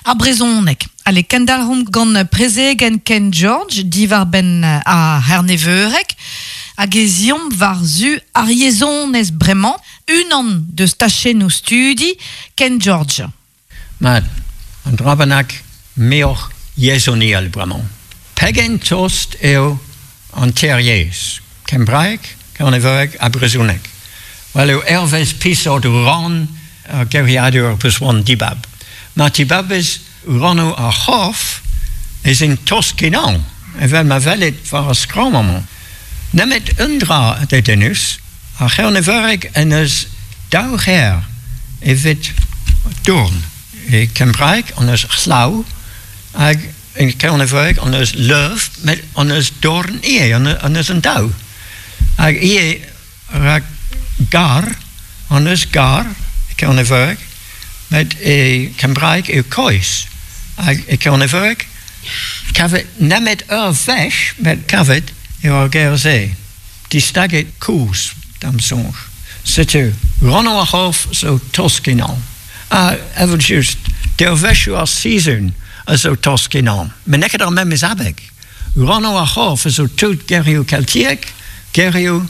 S2: ar brezhoneg. Ale, kendalc'homp gant prezegenn Ken George diwar-benn ar C'herneveureg hag ez eomp war-zu ar yezhonez bremañ, unan deus tachennoù studi Ken George.
S6: Mat, un dra bennak muioc'h yezhoniel bremañ. Pegen tost eo an teir yezh, kembraeg, kerneveureg ha brezhoneg. Well eo hervez peseurt rann ar geriadur peus c'hoant dibab. Ma tibabez rannoù ar c'horf ez int tost-kenañ, evel ma welit war ar skramm amañ. Nemet un dra dedennus, ar c'herneveureg en deus daou c'her evit dourn. E kembraeg hon eus llaw hag e kerneveureg hon eus leuv, met hon eus dorn ivez, hon eus an daou. Hag ivez rak gar, hon eus gar e kerneveureg, met e kembraeg eo kois. Hag e kerneveureg kavet nemet ur wech, met kavet eo ar ger-se. Distaget kozh, da'm soñj. Setu, rannoù ar c'horf zo tost-kenañ. Ha, evel-just, dervezhioù ar sizhun a zo tost-kenañ, met n'eo ket ar memes abeg. Rannoù ar c'horf a zo tout gerioù keltiek, gerioù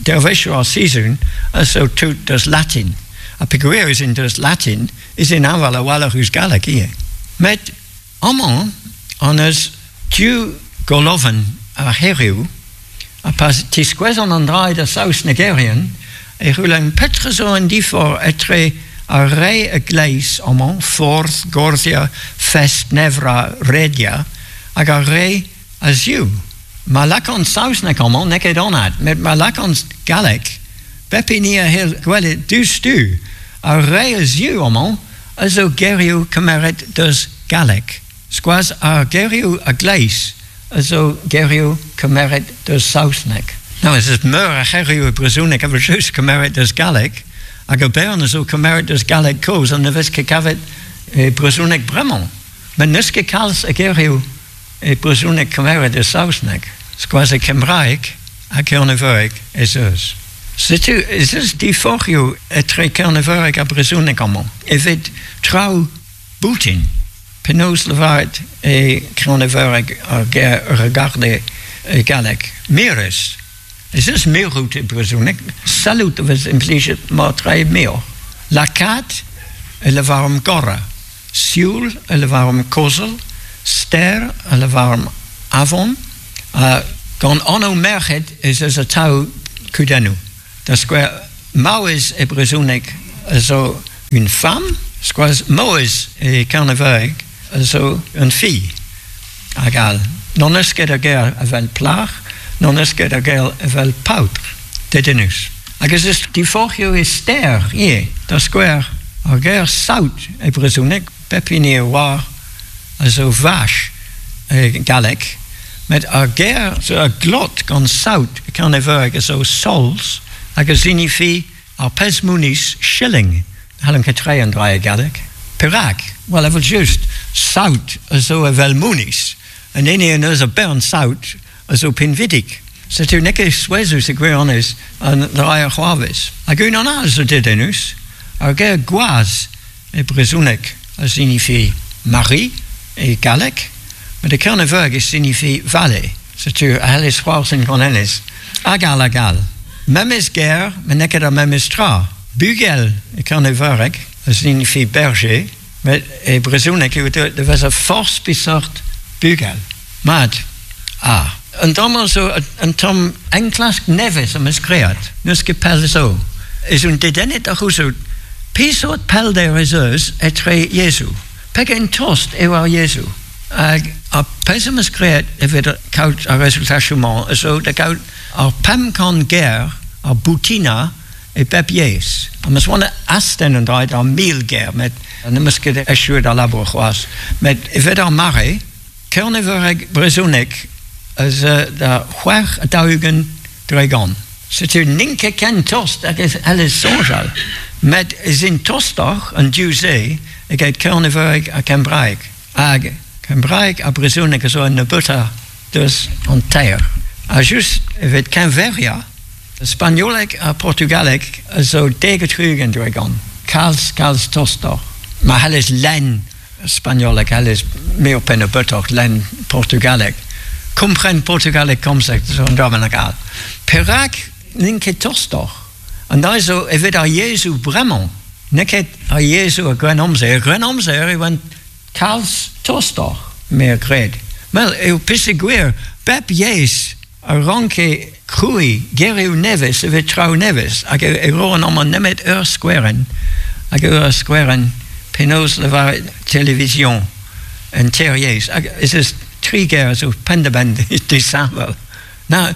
S6: dervezhioù ar sizhun a zo tout deus latin. Ha peogwir ez int deus latin ez int hañval a-walc'h ouzh galleg ivez. Met Amañ hon eus div golovenn a c'herioù ha pa tiskouezan an dra da saoznegerien e c'houlenn petra zo an diforc'h etre ar re a-gleiz amañ, Forth, Gorzia, Fest, Nevra, Redia, hag ar re a-ziv. Ma lakaan saozneg amañ n'eo ket anat, met ma lakaan galleg, pep hini a c'hell gwelet diouzhtu ar re a-ziv amañ a zo gerioù kemeret deus galleg. Skoaz ar gerioù a-gleiz a zo gerioù kemeret deus saozneg. No, ez eus meur a c'herioù e brezhoneg evel-just kemeret deus galleg, hag ur bern a zo kemeret deus galleg kozh ha ne vez ket kavet e brezhoneg bremañ. Met n'eus ket kalz a gerioù e brezhoneg kemeret e saozneg, skoaz e kembraeg ha kerneveureg ez eus. Setu ez eus diforc'hioù etre kerneveureg ha brezhoneg amañ evit traoù boutin. Penaos lavaret e kerneveureg ar ger regarder e galleg? Mirez. Ez eus mirout e brezhoneg, sellout a vez implijet mat-tre muioc'h. Lakaat e lavaromp gorañ. Sioul a lavaromp kozell, stêr a lavaromp avon, ha gant anv merc'hed ez eus atav kudennoù. Da skouer, maouez e brezhoneg a zo une femme, skoaz maouez e kerneveureg a zo une fille, hag all. N'hon eus ket ar ger evel plac'h, n'hon eus ket ar ger evel paotr, dedennus. Hag ez eus diforc'hioù e ster ivez. Da skouer, ar ger saout e brezhoneg, pep hini a oar a zo vache e galleg, met ar ger zo a glot gant saout e kerneveureg a zo sols hag a sinifi ar pezh mouniz shilling. N'hallan ket treiñ an dra e galleg. Perak? Well, evel-just, saout a zo evel mouniz. An hini en deus ur bern saout a zo pinvidik. Setu n'eo ket souezhus e gwirionez an dra a c'hoarvez. Hag unan all zo dedennus, ar ger gwaz e brezhoneg a sinifi mari e galleg, met e kerneveureg e sinifi valet. Setu a c'hellez c'hoarzhin gant hennezh. Hag all hag all. Memes ger, met n'eo ket ar memes tra. Bugel e kerneveureg a sinifi berger, Met e brezhoneg eo deuet da vezañ forzh peseurt bugel. Mat, ah, un tamm zo un tamm enklask nevez am eus graet, n'eus ket pell zo. Ez un dedennet ar c'houzout pesort pelder ez eus etre Jezu. Pegen tost eo ar Jezu. Hag ar pezh am eus graet evit kaout ar rezultachoù-mañ a zo da gaout ar 500 ger ar boutina e bep yezh. Am eus c'hoant astenn an dra d'ar 1000 ger met n'em eus ket echuet al labour c'hoazh. Met evit ar mare, kerneveureg brezhoneg a za da 46%. Setu n'int ket ken tost hag e c'hellez soñjal, met ez int tostoc'h an div-se eget kerneveureg ha kembraeg. Hag kembraeg ha brezhoneg a zo an nebeutañ deus an teir. Ha just evit keñveriañ, spagnoleg ha portugaleg a zo 70%, kalz, kalz tostoc'h. Ma c'hellez lenn spagnoleg, c'hellez muioc'h pe nebeutoc'h lenn portugaleg. Kompren portugaleg komzet zo un dra bennak all. Perak n'int ket tostoc'h? An dra zo evit ar yezhoù bremañ, n'eo ket ar yezhoù ar Grennamzer. Er Grennamzer e oant kalz tostoc'h, me a gred. Wel, eo peogwir bep yezh a ranke krouiñ gerioù nevez evit traoù nevez, hag e roan amañ nemet ur skouerenn, hag ur skouerenn penaos lavaret television en teir yezh, hag ez eus tri ger a zo penn-da-benn disheñvel. Na,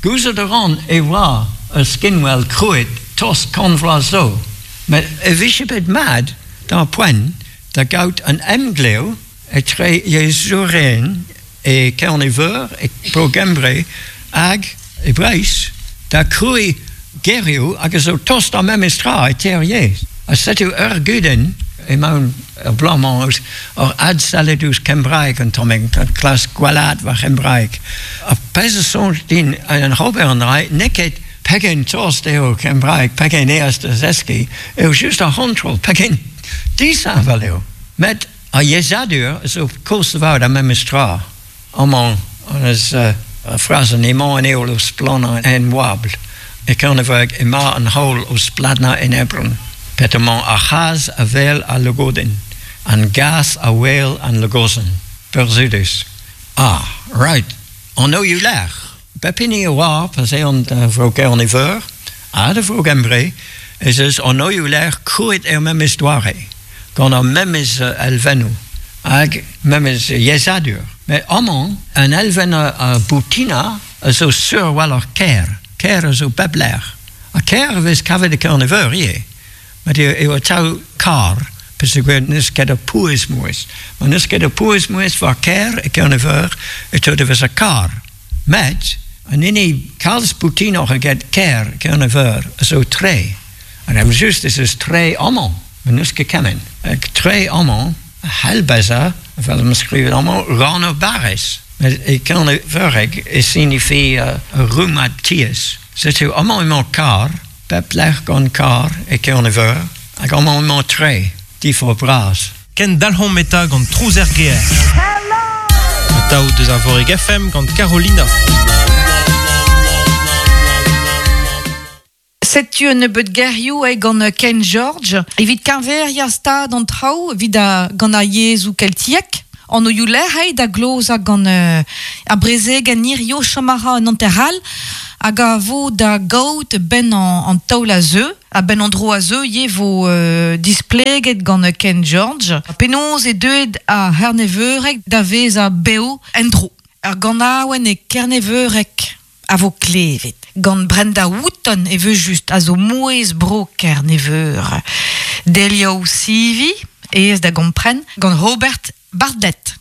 S6: gouzout a ran e oa ur skinwel krouet tost kant vloaz zo, met e vije bet mat d'ar poent da gaout un emglev etre yezhourien e Kerne-Veur, e Bro-Gembre hag e Breizh da krouiñ gerioù hag a zo tost ar memes tra e teir yezh. Ha setu ur gudenn emaon er bloaz-mañ oc'h adsellet ouzh kembraeg un tammig, klask gwellaat va c'hembraeg. Ar pezh a soñj din en ober an dra n'eo ket pegen tost eo kembraeg, pegen aes da zeskiñ, eo just ar c'hontrol, pegen disheñvel eo. Met Ar yezhadur a zo koulz lavaret ar memes tra. Amañ hon eus ur frazenn emañ an heol o splannañ en oabl. E Kerneveureg emañ an heol o splannañ en Ebron. Petra-mañ ar c'hazh a wel al logodenn, an gazh a wel an logozenn. Burzhudus. Ah, right, anvioù-lec'h. Pep hini a oar pa'z eont da Vro Gerne-Veur ha da Vro Gembre ez eus anvioù-lec'h krouet er memes doare, gant ar memes elfennoù hag memes yezhadur. Met amañ, an elfenn a boutina a zo sur a-walc'h kêr. Kêr a zo pep lec'h. Ha kêr a vez kavet e Kerne-Veur ivez. Met eo atav kar, peogwir n'eus ket ur pouez-mouezh. Ma n'eus ket ur pouez-mouezh war kêr e Kerne-Veur e teu da vezañ kar. Met an hini kalz boutinoc'h eget kêr Kerne-Veur a zo tre. Hag evel-just ez eus tre amañ, ma n'eus ket kement. Hag tre amañ a c'hell bezañ, evel ma skrivet amañ, rann ur barrez. Met e Kerneveureg e sinifi ur rummad tiez. Setu amañ emañ kar, Pep lec'h gant karr e Kerne-Veur hag amañ emañ tre, diforc'h bras.
S1: Kendalc'homp eta gant Trouz er gêr. Atav deus ar Vorig FM gant Carolina.
S2: Setu un nebeud gerioù eo gant Ken George evit keñveriañ stad an traoù evit gant ar yezhoù keltiek. Anvioù-lec'h eo da glozañ gant ar brezegenn hirio chom a ra un hanter all hag a vo da gaout 'benn an taol a zeu. A-benn an dro a zeu ivez 'vo displeget gant Ken George penaos eo deuet ar C'herneveureg da vezañ bev en-dro. Ur ganaouenn e kerneveureg a vo klevet gant Brenda Wooton evel-just a zo mouezh bro Kerne-Veur. Delioù sivi, aes da gompren, gant Robert Bartlett.